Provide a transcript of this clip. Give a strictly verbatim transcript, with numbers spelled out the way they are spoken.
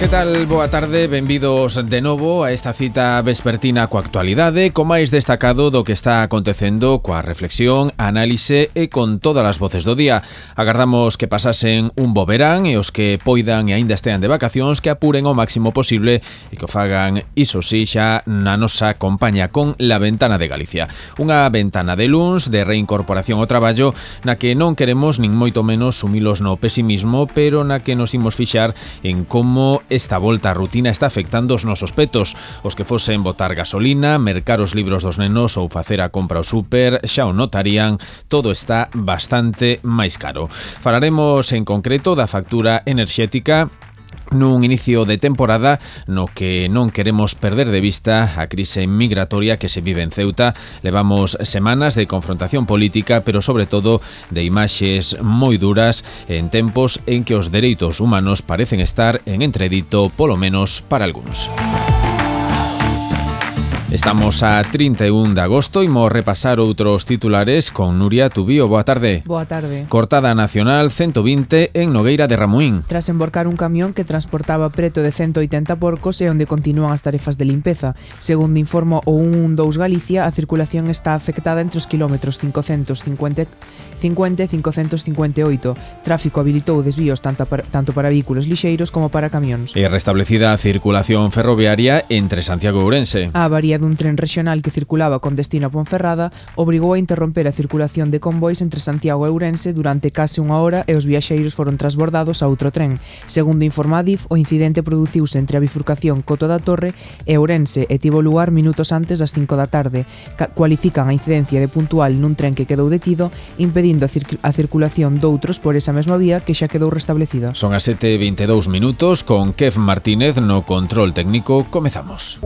Que tal? Boa tarde, benvidos de novo a esta cita vespertina coa actualidade, co máis destacado do que está acontecendo, coa reflexión, análise e con todas as voces do día. Agardamos que pasasen un bo verán e os que poidan e aínda estean de vacacións que apuren o máximo posible e que o fagan, iso sí, xa na nosa compañía con La Ventana de Galicia. Unha ventana de luns, de reincorporación ao traballo, na que non queremos nin moito menos sumilos no pesimismo, pero na que nos imos fixar en como esta volta á rutina está afectando os nosos petos. Os que fosen botar gasolina, mercar os libros dos nenos ou facer a compra ao súper xa o notarían, todo está bastante máis caro. Falaremos en concreto da factura enerxética nun inicio de temporada no que non queremos perder de vista a crise migratoria que se vive en Ceuta. Levamos semanas de confrontación política, pero sobre todo de imaxes moi duras en tempos en que os dereitos humanos parecen estar en entredito, polo menos para algúns. Estamos a trinta e un de agosto e imos repasar outros titulares con Nuria Tubío. Boa tarde. Boa tarde. Cortada nacional ciento vinte en Nogueira de Ramuín. Tras emborcar un camión que transportaba preto de ciento oitenta porcos e onde continúan as tarefas de limpeza. Segundo informou o ciento doce Galicia, a circulación está afectada entre os kilómetros quinhentos cincuenta e quinhentos cincuenta e oito. Tráfico habilitou desvíos tanto para, tanto para vehículos lixeiros como para camións. E restablecida a circulación ferroviaria entre Santiago e Ourense. A avaría dun tren regional que circulaba con destino a Ponferrada obrigou a interromper a circulación de convois entre Santiago e Ourense durante case unha hora e os viaxeiros foron transbordados a outro tren. Segundo informa a D I F, o incidente produciuse entre a bifurcación Coto da Torre e Ourense e tivo lugar minutos antes das cinco da tarde. Cualifican a incidencia de puntual nun tren que quedou detido, impedindo a, cir- a circulación doutros por esa mesma vía que xa quedou restablecida. Son as sete e vinte e dous minutos, con Kev Martínez no control técnico. Comezamos.